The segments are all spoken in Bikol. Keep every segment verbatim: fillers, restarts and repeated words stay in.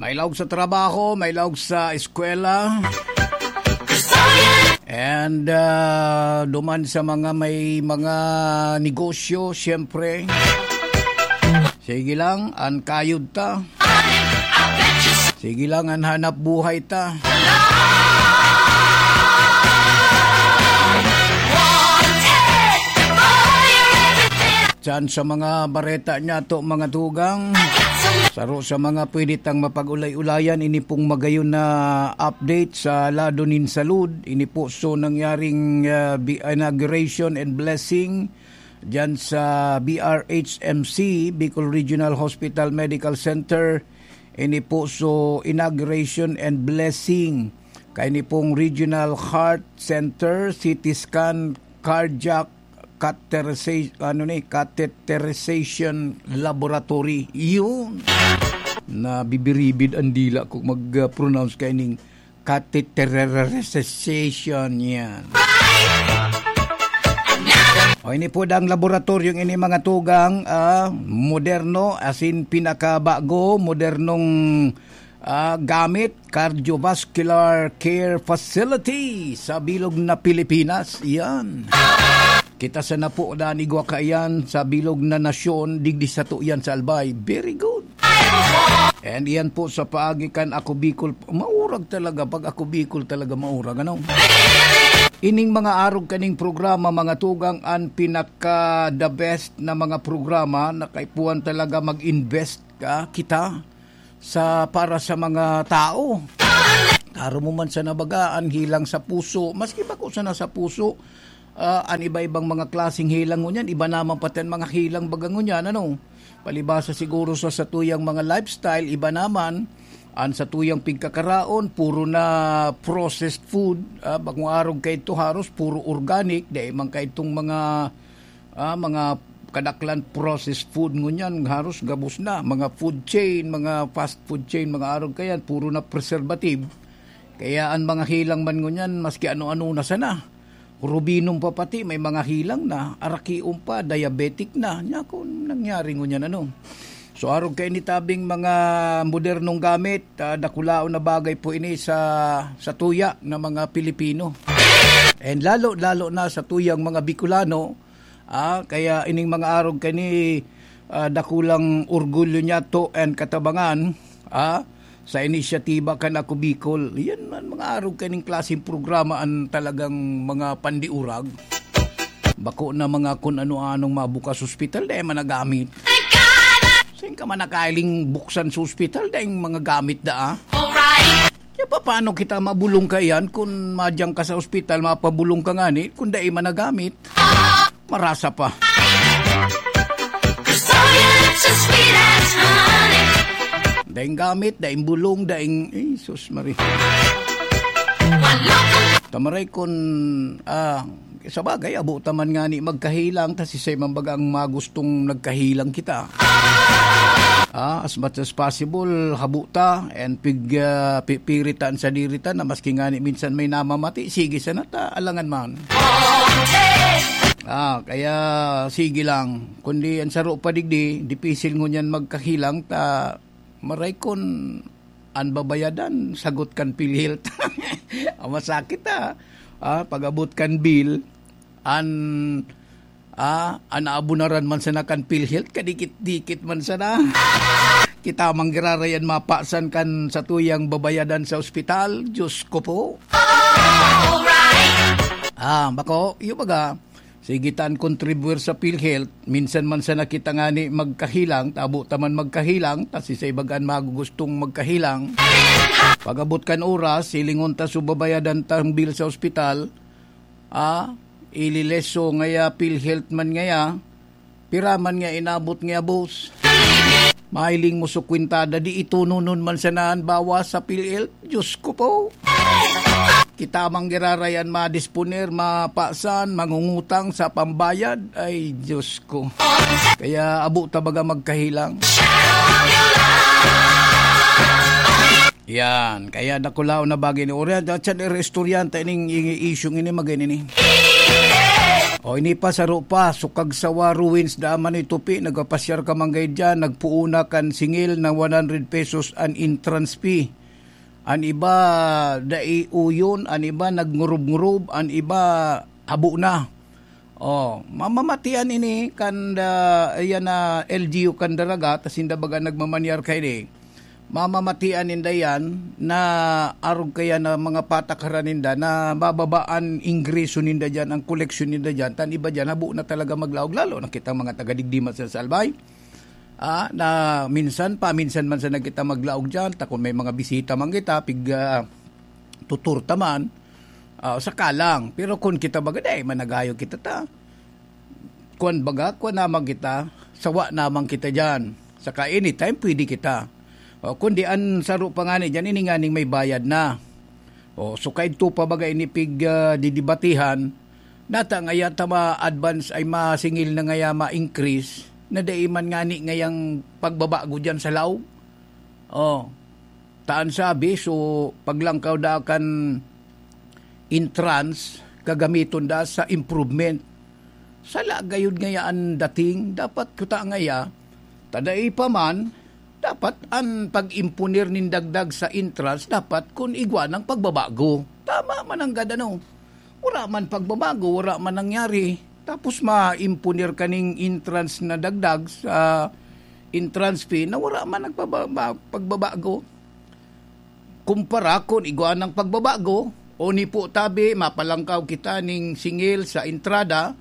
May laog sa trabaho, may laog sa eskwela. And, ah, duman sa mga may mga negosyo, siyempre. Sige lang, an kayod ta. Sige lang, an hanap buhay ta. Diyan sa mga bareta niyato, mga tugang, saro sa mga pwede tang mapag-ulay-ulayan, ini pong magayon na update sa lado nin salud. Ini po so nangyaring, ah, bi-, inauguration and blessing diyan sa B R H M C, Bicol Regional Hospital Medical Center. Ini po so inauguration and blessing kaini pong Regional Heart Center, C T scan, cardiac, catheteriza-, ano ni, catheterization laboratory. Yun. Nabibiribid ang dila ko mag-pronounce kaining catheterization yan. O, ini po dang laboratoryong ini, mga tugang, ah, moderno, as in pinakabago, modernong, ah, gamit, cardiovascular care facility sa bilog na Pilipinas. Yan. Kita sana po na igwa kaiyan sa bilog na nasyon, digdi sato yan sa Albay. Very good. And iyan po sa paagi kan Ako Bicol. Maurag talaga, pag Ako Bicol talaga maurag, ano? Ining mga arog kaning programa, mga tugang, an pinaka the best na mga programa na kaipuhan talaga mag-invest ka, kita, sa, para sa mga tao. Karo mo man sa nabaga, an hilang sa puso, maski bako sana sa puso, ah, an iba-ibang mga klaseng hilang ngunyan, iba naman pati an mga hilang baga ngunyan, ano? Palibasa siguro sa satuyang mga lifestyle, iba naman. An satuyang pigkakaraon, puro na processed food. Ah, bakong arog kaidto, haros puro organic, dai man kaidtong mga, ah, mga kadaklan processed food ngunyan, haros gabos na. Mga food chain, mga fast food chain, mga arog kayan, puro na preservative. Kaya an mga hilang man ngunyan, maski ano-ano na sana. Rubinom pa pati, may mga hilang na, arakion pa, diabetic na. Nya kun nangyari ngunyan, ano? So, arog kaini tabing mga modernong gamit, ah, dakulaon na bagay po ini sa, sa tuya ng mga Pilipino. And lalo, lalo na sa tuyang mga Bicolano, ah, kaya ining mga arog kani, ah, dakulang orgulyo niyato and katabangan, ah, sa inisyatiba kan Ako Bicol. Yan man, mga arog kaning klaseng programa an talagang mga pandiurag. Bako na mga kun ano-anong mabukas ospital, dai man nagamit. Saan ka man nakailing buksan sa ospital, dai mga gamit daa? Kaya paano kita mabulong ka yan kun madyang ka sa ospital, mapabulong ka ngani, kun dai man nagamit? Marasa pa. Daing gamit, daing bulong, daing, eh, sus, Maria. Tamaray kun, ah, sa bagay, abo ta man ngani magkahilang, ta siisay man baga ang magustong nagkahilang kita. Ah, as much as possible, habo ta, and pig, ah, pipiritan sa diritan na maski ngani minsan may namamati, sige sana ta, alangan man. Ah, kaya sige lang. Kundi ang saro pa digdi, dipisil ngunyan magkahilang ta, maray kun an babayadan, sagot kan PhilHealth. Ah, masakit, ah. Ah, pag-abot kan bill, an, ah, an aabunaran man sana kan PhilHealth, kadikit-dikit man sana. Kita man giraray an mapasan kan satuyang babayadan sa ospital. Diyos ko po. Ah, bako, yung baga, sige ta an kontribuyar sa PhilHealth. Minsan man sana kita ngani magkahilang, ta abo ta man magkahilang, ta siisay baga an magugustong magkahilang. Pag-abot kan oras, hilingon ta so babayadan tang bill sa ospital. Ah, ilileso ngaya, PhilHealth man ngaya, pira man nga inabot ngaya, boss. Mahiling mo so kwentada, di itononon man sana an bawas sa PhilHealth. Diyos ko po. Kita man giraray an madisponer, mapasan, mangungutang sa pambayad. Ay, Diyos ko. Kaya abo ta baga magkahilang. Yan. Kaya dakulaw na bagay ni Orian. At siya, estudyante ining, ining isyung ini, magay nini. O, ini pa, saro pa, Sukagsawa Ruins, daan man itupi, nagpapasyar ka man gay diyan, nagpuuna kan singil na one hundred pesos an entrance fee. An iba, dai uyon, an iba, nagngurub-ngurub, an iba, habo na. O, mamamatian ini kan da, iyan na L G U kan Daraga, ta sinda baga nagmamanyar kaini. Mamamatian ninda yan na arog kaya na mga patakaran ninda na mababa an ingreso ninda diyan, ang koleksyon ninda diyan, ta an iba diyan habo na talaga maglaog, lalo na kitang mga taga-digdi man sa Albay. Ah, na minsan pa, minsan man sana kita maglaog diyan, ta kun may mga bisita man kita, pig, ah, tutur ta man, ah, saka lang. Pero kun kita baga, dai man nagayo kita ta. Kuwan baga, kuwan naman kita, sawa naman kita diyan. Saka anytime, pwede kita. O, kundi an saro pa ngani diyan, ini nganing may bayad na. O, so kaidto pa baga ini pig, ah, didibatehan, nata ngaya ta ma-advance ay masingil na ngaya ma-increase, na dai man ngani ngayang pagbabago diyan sa laog. O, ta an sabi, so, paglangkaw da kan entrance, gagamiton da sa improvement. Sala gayud ngaya an dating, dapat kuta ngaya, ta dai pa man, dapat an pag-imponer nin dagdag sa entrance, dapat kun igwa nang pagbabago. Tama man ang gad ano. Wala man pagbabago, wala man nangyari. Tapos ma-imponer ka ning entrance na dagdag sa entrance fee na wala man nagpababa-, pagbabago. Kumpara kun igwa nang pagbabago, o ni po tabi, mapalangkaw kita ning singil sa entrada,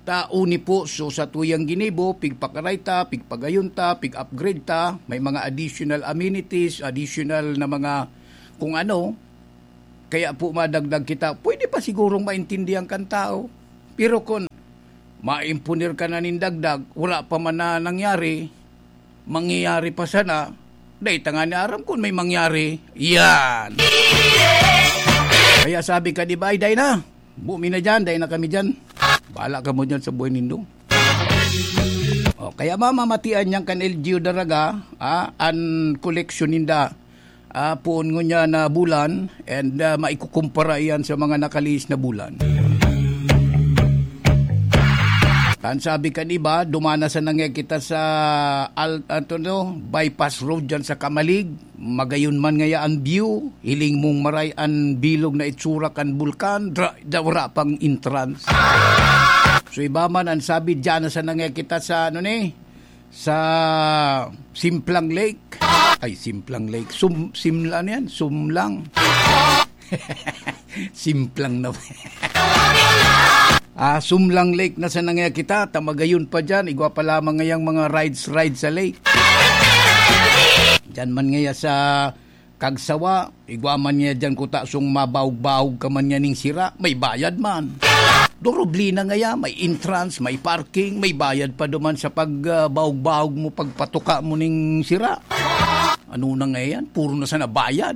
ta o ni po, so sa tuyang ginibo, pigpakaray ta, pigpagayon ta, pig-upgrade ta, may mga additional amenities, additional na mga kung ano, kaya po madagdag kita, pwede pa sigurong maintindihan kan tao. Pero kun maimponer ka na nin dagdag, wala pa man na nangyari, mangyayari pa sana, dai ta ngani aram kun may mangyari. Yan. Kaya sabi ka, di ba, ay, dai na. Bumi na dyan, dai na kami dyan. Bahala ka mo dyan sa buhay nindo. O, kaya mamamatian niyan kan L G U Daraga, ah, an koleksyon ninda, ah, poon ngunyan na bulan, and, ah, maikukumpara iyan sa mga nakalihis na bulan. Tan sabi kan iba, dumana sa nangya kita sa Al-, ato no, Bypass Road dyan sa Camalig. Magayon man ngaya an view, hiling mong maray an bilog na itsura kan bulkan, dra-, da-, wala pang entrance. So, iba man an sabi, dyan na sa nangya kita sa, ano ni, sa Simplang Lake. Ay, Simplang Lake. Sum-, Simla, ano yan? Sumlang. Simplang na. Ah, Sumlang Lake na sa nangya kita, ta magayon pa dyan, igwa pa lamang ngayang mga rides, rides sa lake. Dyan man ngaya sa Kagsawa, igwa man niya dyan kuta sung mabaog-baog ka man niya ning sira, may bayad man. Durubli na ngaya, may entrance, may parking, may bayad pa duman sa pag, ah, baog-baog mo, pagpatuka mo ning sira. Ano na nga yan? Puro na sana bayad.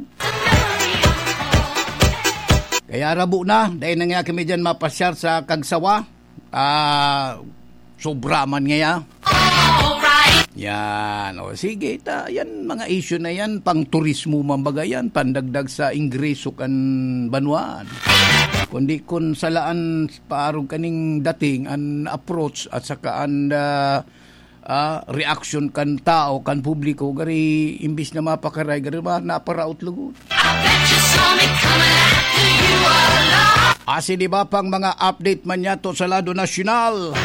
Kaya rabo na, dahil na nga kami dyan mapasyar sa Kagsawa. Ah, sobra man ngaya. Yan. O, sige, ta, yan, mga issue na yan, pang turismo man baga yan, pandagdag sa ingreso kan banwaan. Kundi kun salaan, paarog kaning dating, an approach at saka an, ah, ah, reaksyon kan tao, kan publiko, gari imbis na mapakaray, gari ba, naparaot lugod. I bet you saw me coming after you all along. Asin iba pang mga update man yato sa lado nasyonal.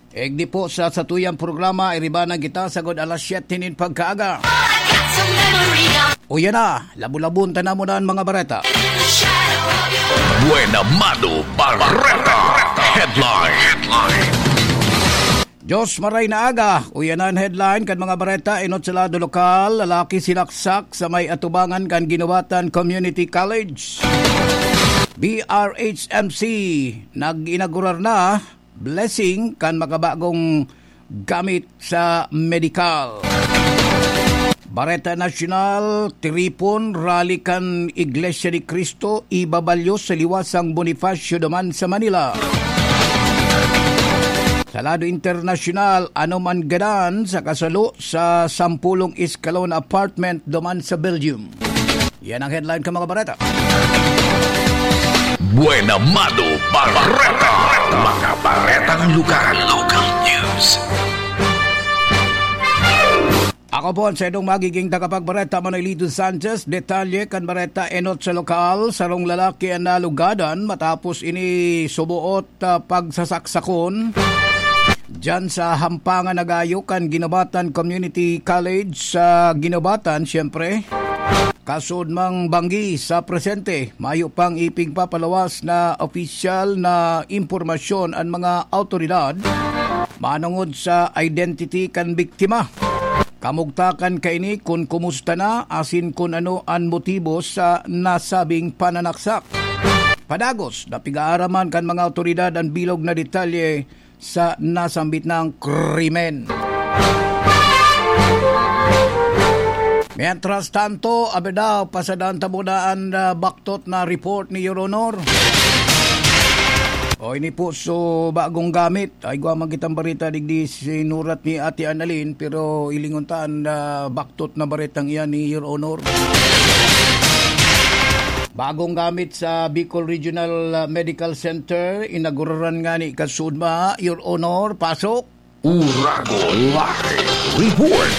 Igdi po sa satuyang programa, iribanan kita sagod alas siyete nin pagkaaga. All I got's a memory of Uya na, labu-labon ta na muna an mga bareta. In the shadow of your Buena Mano Bareta Headline. Diyos maray na aga, uyanan headline kan mga bareta, enot sa lado lokal, lalaki sinaksak sa may atubangan kan Ginawatan Community College. B R H M C, nag-inaugurar na, blessing kan makabagong gamit sa medikal. Bareta Nasyonal, tiripon, rally kan Iglesia ni Cristo, ibabalyo sa liwasang Bonifacio duman sa Manila. Sa lado internasyonal, anoman gadan sa kasalo sa sampulong eskalon apartment duman sa Belgium. Yan ang headline ka mga bareta. Buena Mano Bareta. Mga baretang lugar. Local news. Ako po ang saindong magiging tagapagbareta, Manolito Sanchez. Detalye kan bareta enot sa lokal, sarong lalaki ang nalugadan matapos ini subuot, ah, pagsasaksakon diyan sa Hampangan Nagayo kan Guinobatan Community College sa Guinobatan, siyempre. Kasud mang banggi sa presente, mayo pang ipigpapalawas na opisyal na impormasyon an mga awtoridad manongod sa identity kan biktima. Kamugtakan kaini kun kumusta na asin kun ano an motibo sa nasabing pananaksak. Padagos na pigaaraman kan mga awtoridad an bilog na detalye sa nasambit na krimen. Mientras tanto, abi daw, pasadaan ta muna an, ah, baktot na report ni Your Honor. O, ini po, so, bagong gamit. Ay, igwa man kitang bareta digdi sinurat ni Ate Annalyn, pero hilingon ta an, ah, baktot na baretang iyan ni Your Honor. Bagong gamit sa Bicol Regional, ah, Medical Center, inaguraran ngani kasud ma, Your Honor, pasok. Uragon Live Report.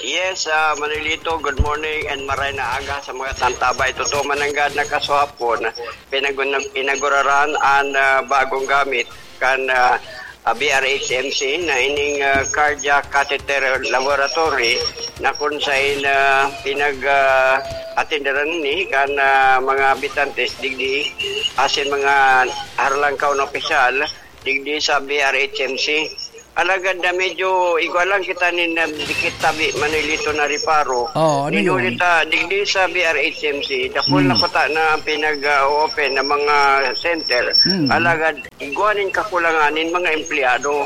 Yes, ah, Manolito, good morning and maray na aga sa mga tantabay. Totoo man nanggad na kasuhapon, pinag-, inaguraran an, ah, bagong gamit kan, ah, ah, B R H M C na ining, ah, cardiac catheter laboratory na kun sain, ah, pinag, ah, atenderan ni kan, ah, mga habitantes digdi asin mga harlangkaw na opisyal digdi sa B R H M C. Alagad na medyo igwa lang kita nin, ah, dikit tabi, Manolito, na reparo. Oh, ano Nin yun? Huli ta, digdi sa B R H M C, dakul na Hmm. kuta na ang pinag-open na mga center. Hmm. Alagad, igwa nin kakulangan nin mga empleyado.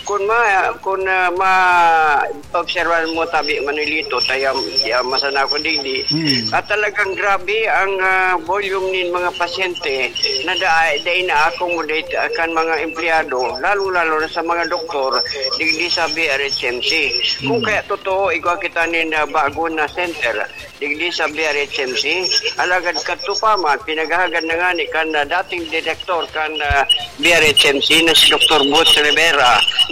Kun ma-, kun, ah, ma-obserbahan mo tabi, Manolito, taya, ya, masana ako digdi. Hmm. At talagang grabe ang, ah, volume nin mga pasyente na da-, dai na-accommodate, ah, kan mga empleyado, lalong-lalo na sa mga doktor, digdi sa B R H M C. Kung Hmm. kaya totoo, igwa kita nin, ah, bago na center, digdi sa B R H M C, alagad kadto pa man, pinaghahagad na ngani kan, ah, dating direktor kan, ah, B R H M C na si Doktor Boots Rivera,